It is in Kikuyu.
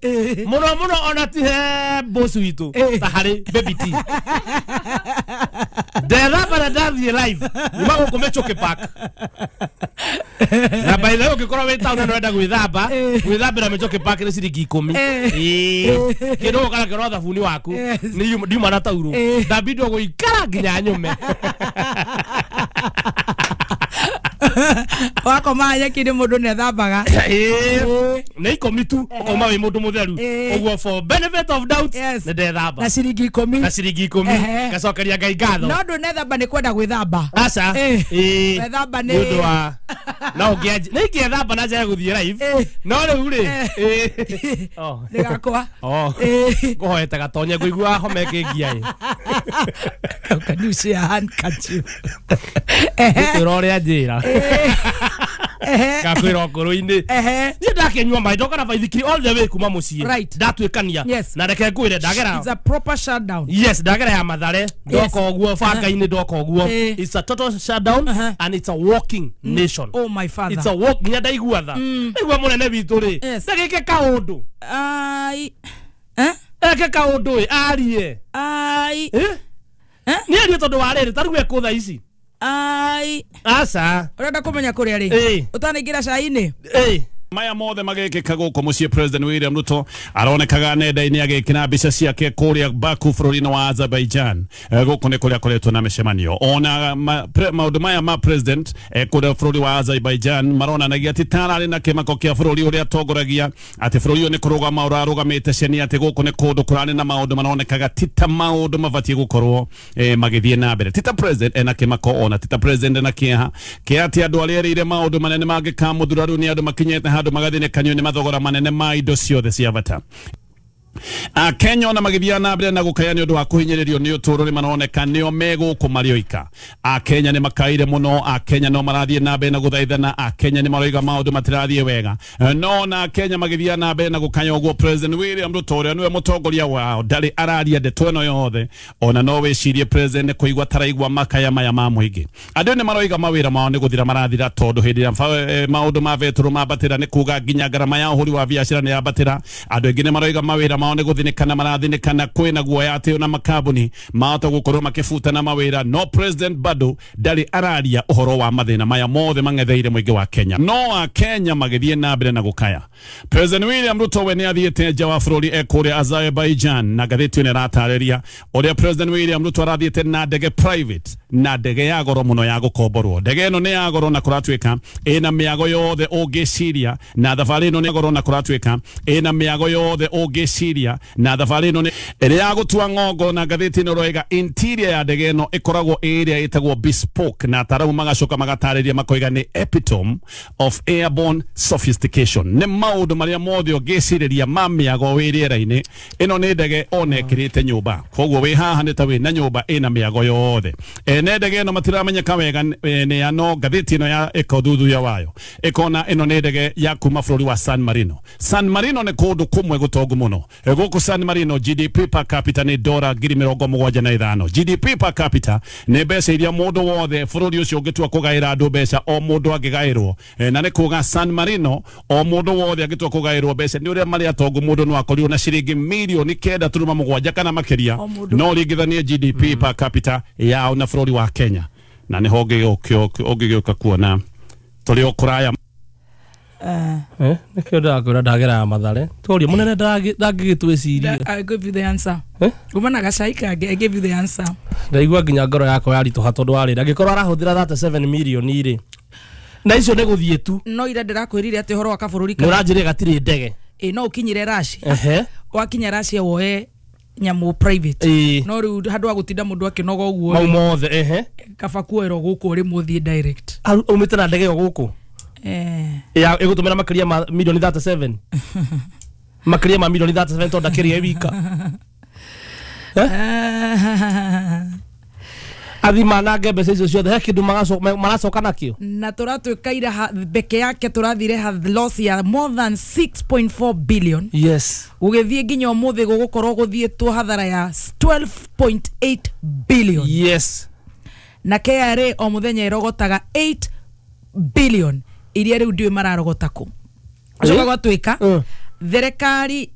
Muno muno ona ti he boss witu ta hari baby T. Ndethamba na ndathiĩ live nyuma gũkũ Mĩchũkĩ Park. Na by the way ũngĩkorwo wĩ town na ũrenda gwĩthamba, gwĩthambĩra Mĩchũkĩ Park nĩ ciringi 10. Ĩĩ. Kĩndũ ũgũka nakĩo no thabuni waku. Nĩ ndiuma na taurũ. Ndambindwo gũikara nginya nyume. Wakoma nyeki-inĩ mũndũ nĩethambaga. Ĩĩ. Nĩ 10 tu ũkauma wĩ mũndũ mũtheru. Ũguo for benefit of doubt nĩ ndethamba. Na ciringi 10. Na ciringi 10. Ngacokeria Ngai ngatho. No ndũnethamba nĩ kwenda gwĩthamba. Aca. Ĩĩ. Wethamba nĩ ũndũ wa no ũngĩanjia nĩ ingĩethamba na njage gũthiĩ live. No rĩu rĩ. Ĩĩ. Nĩ gakwa. Ngũhoete gatonye ngũigua homa ĩkĩngia ĩ. Can you see a handkerchief? Ngũkwĩra ũrĩa njĩra. Ngakwĩra ngoro-inĩ. Niĩ ndakĩnyua maĩ ndoka na baithikiri all the way kuma mũciĩ. Ndatuĩkania. Na reke ngwĩre ndagera. It's a proper shutdown. Yes, ndagera ya Mathare. Ndoka ũguo banga-inĩ ndoka ũguo. It's a total shutdown and it's a walking nation. Oh my father. It's a walk nginya ndaigua tha. Ndaigua mũnene witũ rĩ. Ndagĩke kaũndũ. Ai. Eh? Eke kaũndũ ĩ arie. Ai. Eh? Nĩ arie tondũ wa rĩrĩ ta rĩu ekũ thaa ici. Ai. Aca. Ũrenda kũmenya kũrĩa rĩ? Ũtanaingĩra cai-inĩ? Maya mothe magekĩka gũkũ mũciĩ President William Ruto aronekaga nenda-inĩ agĩkĩra mbica ciake kũrĩa Baku bũrũri-inĩ wa Azerbaijan. Gũkũ nĩ kũrĩa koretwo na mĩcemanio. Ona maũndũ maya ma president kũrĩa bũrũri wa Azerbaijan maronanagia atĩ tararĩ na kĩmako kĩa bũrũri ũrĩa atongoragia, atĩ bũrũri ũyũ nĩ kũrũgama ũrarũgamĩte ceni, atĩ gũkũ nĩ kũndũ kũrarĩ na maũndũ maronekaga ti ta maũndũ mabatiĩ gũkorwo magĩthiĩ na mbere. Ti ta president ena kĩmako, ona ti ta president ena kĩeha kĩa atĩ andũ arĩa erĩire maũndũ manene mangĩkamũthura rĩu nĩ andũ makinyĩte handũ magathĩnĩkanio nĩ mathogora manene ma indo ciothe cia bata. Akenya ona magĩthiĩ na mbere na gũkaya nĩ ũndũ wa kũhinyĩrĩrio nĩ ũtũũro nĩ maroneka nĩo megũkũ marĩ oika. Akenya nĩ makaire mũno, Akenya no marathiĩ na mbere na gũthaithana, Akenya nĩ maroiga maũndũ matirathiĩ wega. No na Akenya magĩthiĩ na mbere na gũkaya ũguo President William Ruto ũrĩa nĩwe mũtongoria wao ndarĩ araria ndeto ĩno yothe. Ona no wĩcirie president nĩ kũigua taraigua makaya maya ma mũingĩ. Andũ nĩ maroiga mawĩra mao nĩ gũthira marathira tondũ hĩndĩ ĩrĩa maũndũ ma betũrũ mambatĩra nĩ kuga nginya ngarama ya ũhũri wa biacara nĩ yambatĩra. Andũ aingĩ nĩ maroiga mawĩra mao nĩ gũthinĩkana marathinĩkana, kwĩna guoya atĩ ona makambuni mahota gũkorwo makĩbutana mawĩra. No president bado ndarĩ araria ũhoro wa mathĩna maya mothe mang'etheire mũingĩ wa Kenya. No Akenya magĩthiĩ na mbere na gũkaya. President William Ruto we nĩ athiĩte nja wa bũrũri ekũrĩa Azerbaijan, na ngathĩti ĩno ĩratarĩria ũrĩa President William Ruto arathiĩte na ndege private, na ndege ya goro mũno ya gũkomborwo. Ndege ĩno nĩ ya goro na kũratuĩka ĩna mĩago yothe ũngĩciria, na thabarĩ ĩno nĩ goro na kũratuĩka ĩna mĩago yothe ũngĩciria, na thabarĩ ĩno nĩ ĩrĩa ya gũtua ng'ongo. Na ngathĩti ĩno ĩroiga interior ya ndege ĩno ĩkoragwo ĩrĩa ĩtagwo bespoke, na ataramu magacoka magatarĩria makoiga nĩ epitome of airborne sophistication. Nĩ maũndũ marĩa mothe ũngĩcirĩria ma mĩago wĩ rĩera-inĩ. Ĩno nĩ ndege ona ĩkĩrĩte nyũmba, koguo wĩ haha nĩ ta wĩ na nyũmba ĩna mĩago yothe. Ene ndege ĩno matiramenyeka wega nĩ ya, no ngathĩti ĩno ya ĩka ũthuthuria wayo ĩkona ĩno nĩ ndege ya kuma bũrũri wa San Marino. San Marino nĩ kũndũ kũmwe gũtongu mũno. Gũkũ San Marino GDP per capita nĩ dora 75,000. GDP per capita nĩ mbeca iria mũndũ wothe bũrũri ũcio ũngĩtua kũgaĩra andũ mbeca o mũndũ angĩgaĩrwo. Na nĩ kuga San Marino o mũndũ wothe angĩtua kũgaĩrwo mbeca nĩ ũrĩa marĩ atongu mũndũ no akorirwo na ciringi mirioni 9.7 kana makĩria. No ringithanie GDP per capita yao na bũrũri wa Kenya, na nĩho ũngĩgĩũka kuona tũrĩ o kũraya. Nĩkĩo ndĩrakwĩra ndagera ya Mathare. Tũrie mũnene ndangĩgĩtwĩciria. I give you the answer. Uma na gacai kangĩ, I give you the answer. Ndaigua nginya ngoro yakwa yaritũha tondũ wa rĩrĩ angĩkorwo arahũthĩra 37 mirioni rĩ, na icio nĩ gũthiĩ tu. No ira ndĩrakwĩrire atĩ ũhoro wa kabũrũri nĩ ũranjĩrire gatirĩ ndege. Ĩ no ũkinyire Russia. Wakinya Russia woe nyamũ private. No rĩu handũ ha gũtinda mũndũ akĩnoga ũguo mau mothe, kaba kuoerwo gũkũ ũrĩ mũthiĩ direct. Umĩte na ndege ĩyo gũkũ? Ya ĩgũtũmĩra makĩria ma mirioni 37. Makĩria ma mirioni 37 tondũ ndakĩrĩa wika. Athi manange mbeca icio ciothe he kĩndũ maracoka nakĩo. Na tũratuĩka ira peke yake tũrathire loss ya more than 6.4 billion. Yes. Gũgĩthiĩ nginya ũmũthĩ gũgũkorwo gũthiĩtwo hathara ya 12.8 billion. Yes. Na KRA o mũthenya ĩrogotaga 8 billion iria rĩu ndiũĩ mararogota kũ. Ũcoka gwatuĩka thirikari